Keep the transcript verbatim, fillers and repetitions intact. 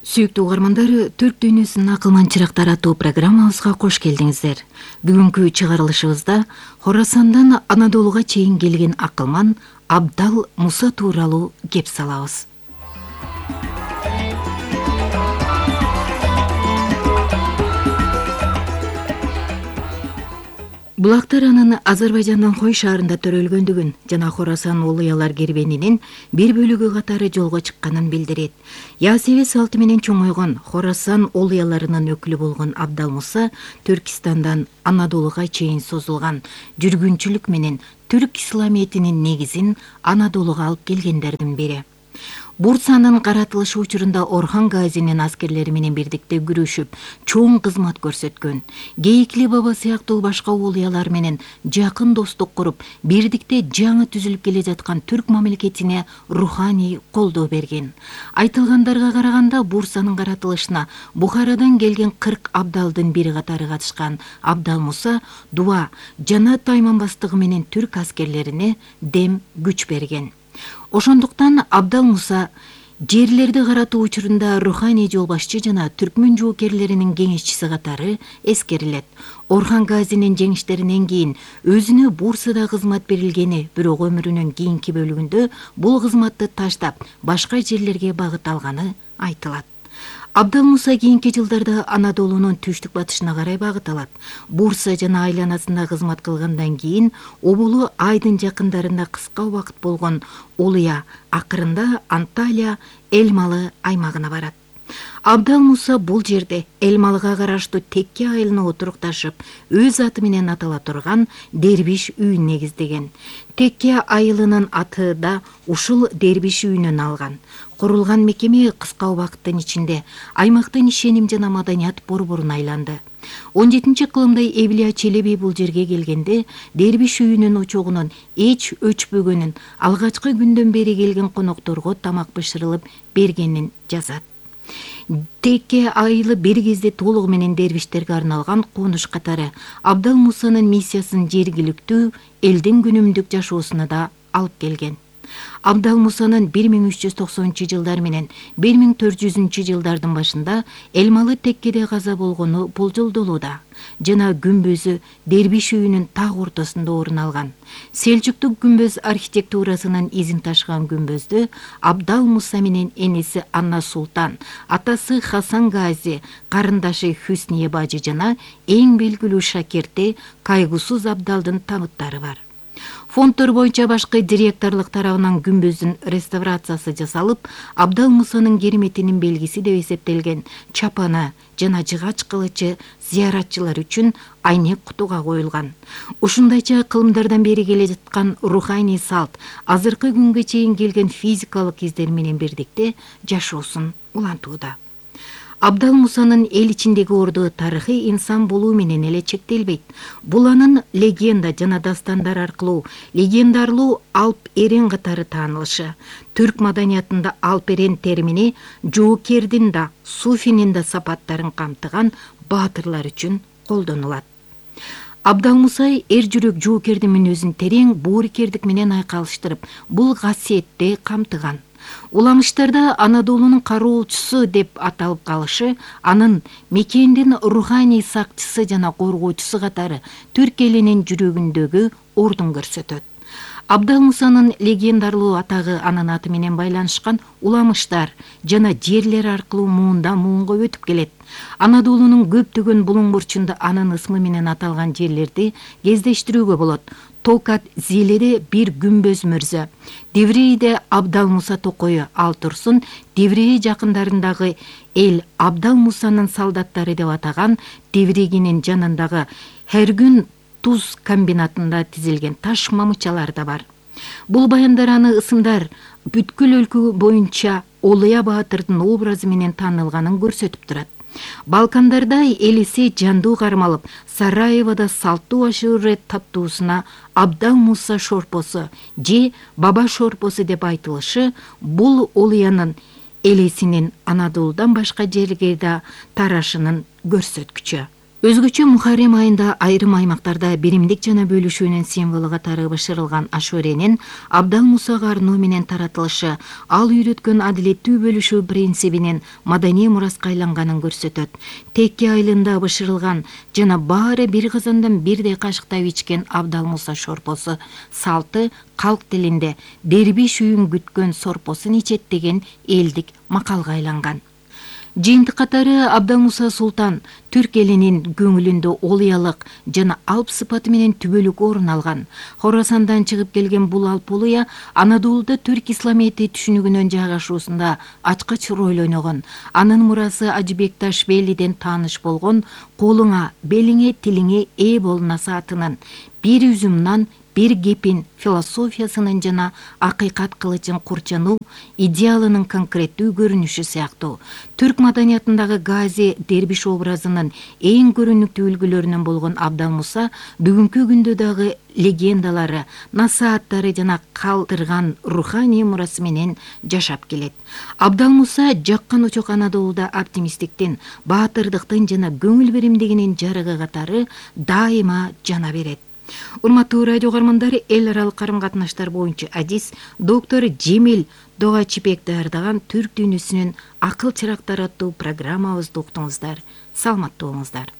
Сүйүктүү угармандар, Түрк дүйнөсүнүн акылман чырактары аттуу программабызга кош келдиңиздер. Бүгүнкү чыгарылышыбызда Хорасандан Анадолуга чейин келген акылман Абдал Муса тууралуу кеп салабыз. Булактар анын Азербайжандын Хой шаарында төрөлгөндүгүн жана Хорасан улуялар кербенинин бир бөлүгү катары жолго чыкканын билдирет. Ясеви салты менен чоңойгон Хорасан улуяларынын өкүлү болгон Абдал Муса Түркистандан Анадолуга чейин созулган жүргүнчүлүк менен түрк исламиятынын негизин Анадолуга алып келгендердин бири. Бурсанын каратылышы учурунда Орхан Газинин аскерлери менен бирдикте күрөшүп, чоң кызмат көрсөткөн. Гейикли баба сыяктуу башка улуялар менен жакын достук куруп, бирдикте жаңы түзүлүп келе жаткан түрк мамлекетине руханий колдоо берген. Айтылгандарга караганда Бурсанын каратылышына Бухарадан келген кырк абдалдын бири катары катышкан Абдал Муса дуа жана тайманбастыгы менен түрк аскерлерине дем күч берген. Ошондуктан Абдал Муса жерлерди каратуу учурунда руханий жол башчы жана түркмөн жоокерлеринин кеңешчиси катары эскерилет. Орхан Газинин жеңиштеринен кийин өзүнө Бурсада кызмат берилгени, бирок өмүрүнүн кийинки бөлүгүндө бул кызматты таштап, башка жерлерге багыт алганы айтылат. Абдал Муса кийинки жылдарда Анадолунун түштүк батышына карай багыт алат. Бурса жана айланасында кызмат кылгандан кийин Обулу Айдын жакындарында кыска убакыт болгон Улуя акырында Анталия Элмалы аймагына барат. Абдал Муса бул жерде Элмалыга караштуу Текке айылына отурукташып, өз аты менен атала турган Дербиш үйүн негиздеген. Текке айылынын аты да ушул Дербиш үйүнөн алган. Курулган мекеме кыска убакыттын ичинде аймактын ишеним жана маданият борборуна айланды. он жетинчи кылымда Эвлия Челеби бул жерге келгенде Дербиш үйүнүн очогунун эч өчпөгөнүн, алгачкы күндөн бери келген конокторго тамак бышырылып бергенин жазат. Текке айылы бир кезде толугу менен дербиштерге арналган конуш катары Абдал Мусанын миссиясын жергиликтүү элдин күнүмдүк жашоосуна да алып келген. Абдал Мусанын бир миң үч жүз токсонунчу жылдар менен бир миң төрт жүзүнчү жылдардын башында Элмалы Теккеде каза болгону болжолдолууда жана күмбөзү Дербиш үйүнүн так ортосунда орун алган. Селжуктук күмбөз архитектурасынын изин ташыган күмбөздү Абдал Муса менен энеси Анна Султан, атасы Хасан Гази, карындашы Хүсние бажы жана эң белгилүү шакирти Кайгусуз Абдалдын табыттары бар. Фонддор боюнча башкы директорлук тарабынан күмбөздүн реставрациясы жасалып, Абдал Мусанын кереметинин белгиси деп эсептелген чапаны жана жыгач кылычы зыяратчылар үчүн айнек кутуга коюлган. Ушундайча кылымдардан бери келе жаткан руханий салт азыркы күнгө чейин келген физикалык издер менен бирдикте жашоосун улантууда. Абдал Мусанын эл ичиндеги орду тарыхый инсан болуу менен эле чектелбейт. Бул анын легенда жана дастандар аркылуу легендарлуу алп эрен катары таанылышы. Түрк маданиятында алп эрен термини жоокердин да, суфинин да сапаттарын камтыган баатырлар үчүн колдонулат. Абдал Муса эр жүрөк жоокердин мүнөзүн терең боорукердик менен айкалыштырып, бул касиетти камтыган. Уламыштарда Анадолунун кароочусу деп аталып калышы, анын мекендин руханий сакчысы жана коргоочусу катары түрк элинин жүрөгүндөгү ордун көрсөтөт. Абдал Мусанын легендарлуу атагы анын аты менен байланышкан уламыштар жана жерлер аркылуу муундан муунга өтүп келет. Анадолунун көптөгөн булуң бурчунда анын ысмы менен аталган жерлерди кездештирүүгө болот. Токат Зиледе бир күмбөз мөрзө, Деврейде Абдал Муса токою ал турсун, Деврей жакындарындагы эл Абдал Мусанын солдаттары деп атаган Деврегинин жанындагы Хергүн туз комбинатында тизилген таш мамычалар да бар. Бул баяндар аны ысымдар бүткүл өлкө боюнча Олуя баатырдын образы менен таанылганын көрсөтүп турат. Балкандарда элиси жандуу кармалып, Сараевода салттуу ашуурет таттуусуна Абдал Муса шорпосу же баба шорпосу деп айтылышы бул Олуянын элесинин Анадолудан башка жерге да тарашынын көрсөткүчү. Өзгөчө Мухаррем айында айрым аймактарда биримдик жана бөлүшүүнүн символу катары бышырылган ашуренин Абдал Мусага арноо менен таратылышы ал үйрөткөн адилеттүү бөлүшүү принцибинин маданий мураска айланганын көрсөтөт. Текке айылында бышырылган жана баары бир казандан бирдей кашыктап ичкен Абдал Муса шорпосу салты калк тилинде дербиш үйүн күткөн сорпосун ичет деген элдик макалга айланган. Жыйынтык катары Абдал Муса Султан түрк элинин көңүлүндө олуялык жана алп сыпаты менен түбөлүк орун алган. Хорасандан чыгып келген бул алп олуя Анадолуда түрк исламияти түшүнүгүнүн жайгашуусунда ачкыч роль ойногон. Анын мурасы Ажыбек Ташбелиден тааныш болгон колуңа, белиңе, тилиңе ээ бол насаатынын бир үзүм нан, бир кепин философиясынын жана акыйкат кылычын курчануу идеалынын конкреттүү көрүнүшү сыяктуу. Түрк маданиятындагы Гази дербиш образынын эң көрүнүктүү үлгүлөрүнөн болгон Абдал Муса бүгүнкү күндө дагы легендалары, насааттары жана калтырган руханий мурасы менен жашап келет. Абдал Муса жаккан очок Анадолуда оптимисттиктин, баатырдыктын жана көңүл биримдигинин жарыгы катары дайыма жана берет. Урматтуу радио угармандары, эл аралык карым-катнаштар боюнча адис доктор Жемил Догачипек даярдаган түрк дүйнөсүнүн акыл чырактары аттуу программабызды уктуңуздар. Саламаттуу болуңуздар.